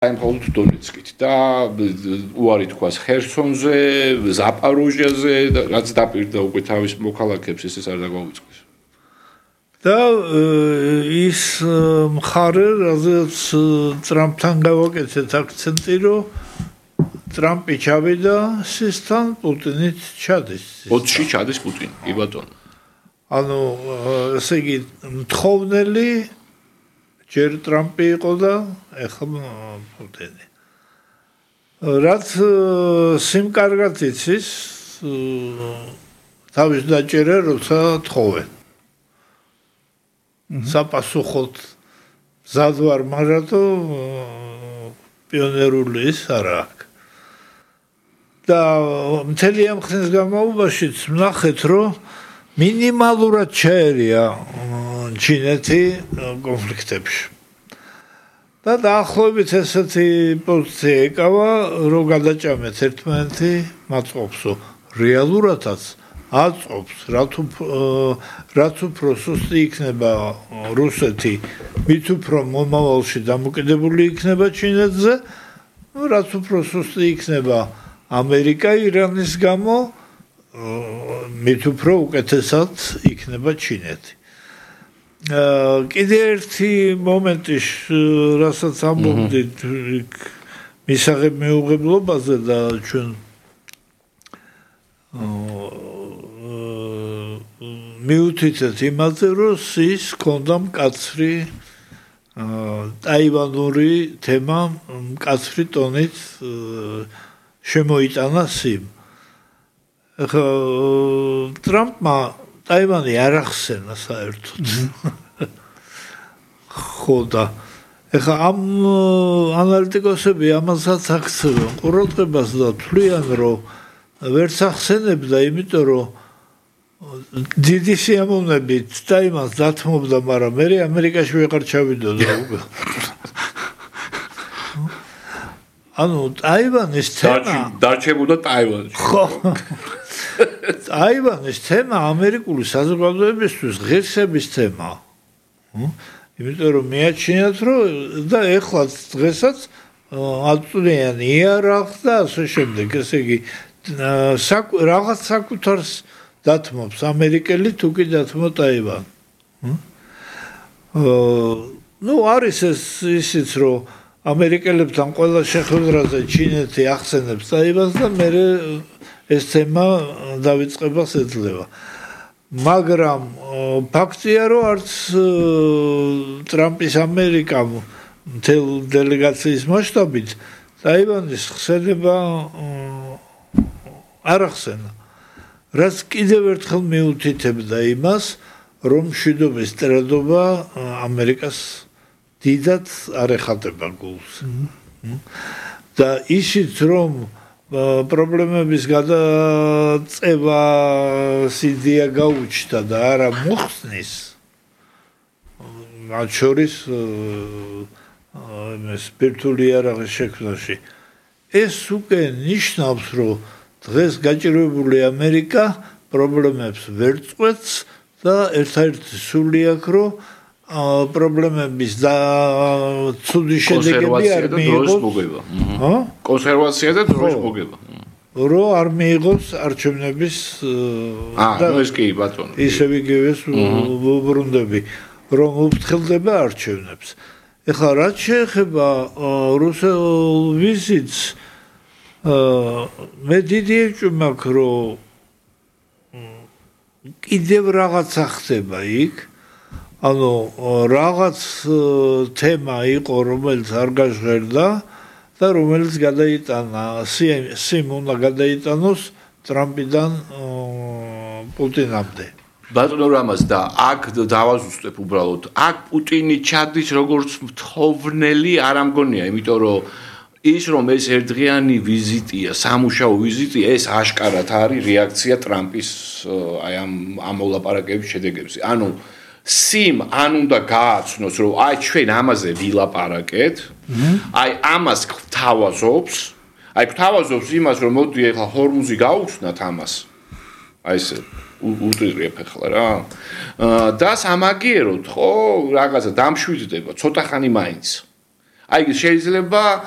აი მხოლოდ დონეცკით და უარი თქვას ხერსონზე, ზაპოროჟიაზე, რაც დაპირდა უკვე თავის მოქალაქეებს ეს არ დაგვაუწყეს. და ის მხარე, რაზეც ტრამპთან გავაკეთეთ აქცენტი, რომ ტრამპი ჩავიდა სისთან, პუტინით ჩადის. 20-ში ჩადის პუტინი, კი ბატონო. ანუ ესე იგი მთხოვნელი ჯერ ტრამპი იყო და ეხლა პუტინი. რაც სიმკარგად იცის თავის დაჭერა როცა თხოვენ. საპასუხოდ მზად ვარ, მაგრამ პიონერული ის არა აქვს. და მთელი ამ ხნის განმავლობაშიც ვნახეთ, რომ მინიმალურად ჩაერია ჩინეთი კონფლიქტებში. და დაახლოებით ესეთი პოზიცია ეკავა, რომ გადაჭამეთ ერთმანეთი მაწყობსო. რეალურადაც აწყობს, რაც უფრო სუსტი იქნება რუსეთი, მით უფრო მომავალში დამოკიდებული იქნება ჩინეთზე, რაც უფრო სუსტი იქნება ამერიკა ირანის გამო, მით უფრო უკეთესად იქნება ჩინეთი. კიდე ერთი მომენტი, რასაც ამბობდით მისაღებ მეუღებლობაზე და ჩვენ მიუთითეთ იმაზე, რომ ის ქონდა მკაცრი ტაივანური თემა, მკაცრი ტონით შემოიტანა სიმ. ტრამპმა ტაივანი არ ახსენა საერთოდ. ხო და ეხლა ამ ანალიტიკოსები ამასაც აქცევენ ყურადღებას და თვლიან, რომ ვერც ახსენებდა, იმიტომ რომ დიდი სიამოვნებით ტაივანს დათმობდა, მაგრამ მე ამერიკაში ვეღარ ჩავიდოდა უკვე. ანუ ტაივანის თემა დარჩებოდა ტაივანში. ხო. ტაივანის თემა ამერიკული საზოგადოებისთვის ღირსების თემაა. იმიტომ რომ მეაჩნიათ, რომ და ეხლა დღესაც აწვდიან იარაღს და ასე შემდეგ, ესე იგი რაღაც საკუთარს დათმობს ამერიკელი თუ კი დათმო ტაივანი. ნუ არის ეს ისიც, რომ ამერიკელებთან ყველა შეხვედრაზე ჩინეთი ახსენებს ტაივანს და მე ეს თემა დავიწყებას ეძლევა. მაგრამ ფაქტია, რომ არც ტრამპის ამერიკამ მთელ დელეგაციის მასშტაბით ტაივანის ხსენება არ ახსენა. რაც კიდევ ერთხელ მიუთითებდა იმას, რომ მშვიდობის ტრადობა ამერიკას დიდად არ ეხატება გულს. და ისიც რომ პრობლემების გადაწევა სიდია გაუჩნდა და არა მოხსნის, მათ შორის სპირტული იარაღის შექმნაში, ეს უკვე ნიშნავს, რომ დღეს გაჭირვებული ამერიკა პრობლემებს ვერ წყვეტს და ერთადერთი სული აქვს, რომ პრობლემების და ცუდი შედეგები არ მიიღოს. კონსერვაცია და დროის მოგება. რომ არ მიიღოს არჩევნების და ეს კი ბატონო. ისევ იგივეს ვუბრუნდები, რომ უფრთხილდება არჩევნებს. ეხლა რაც შეეხება რუსულ ვიზიტს, მე დიდი ეჭვი მაქვს, რომ კიდევ რაღაცა ხდება იქ. ანუ რაღაც თემა იყო, რომელიც არ გაჟღერდა და რომელიც გადაიტანა, სიმ უნდა გადაიტანოს ტრამპიდან პუტინამდე. ბატონო რამაზ და აქ დავაზუსტებ უბრალოდ. აქ პუტინი ჩადის როგორც მთხოვნელი არ ამგონია, იმიტომ რომ ის რომ ეს ერთდღიანი ვიზიტია, სამუშაო ვიზიტია, ეს აშკარად არის რეაქცია ტრამპის აი ამ მოლაპარაკების შედეგებზე. ანუ სიმ ან უნდა გააცნოს, რომ აი ჩვენ ამაზე ვილაპარაკეთ, აი ამას გვთავაზობს, იმას, რომ მოდი ახლა ჰორმუზი გაუხსნათ ამას. აი ესე უტირებ ახლა რა. და სამაგიეროდ, ხო, რაღაცა დამშვიდდება, ცოტა ხანი მაინც. აი შეიძლება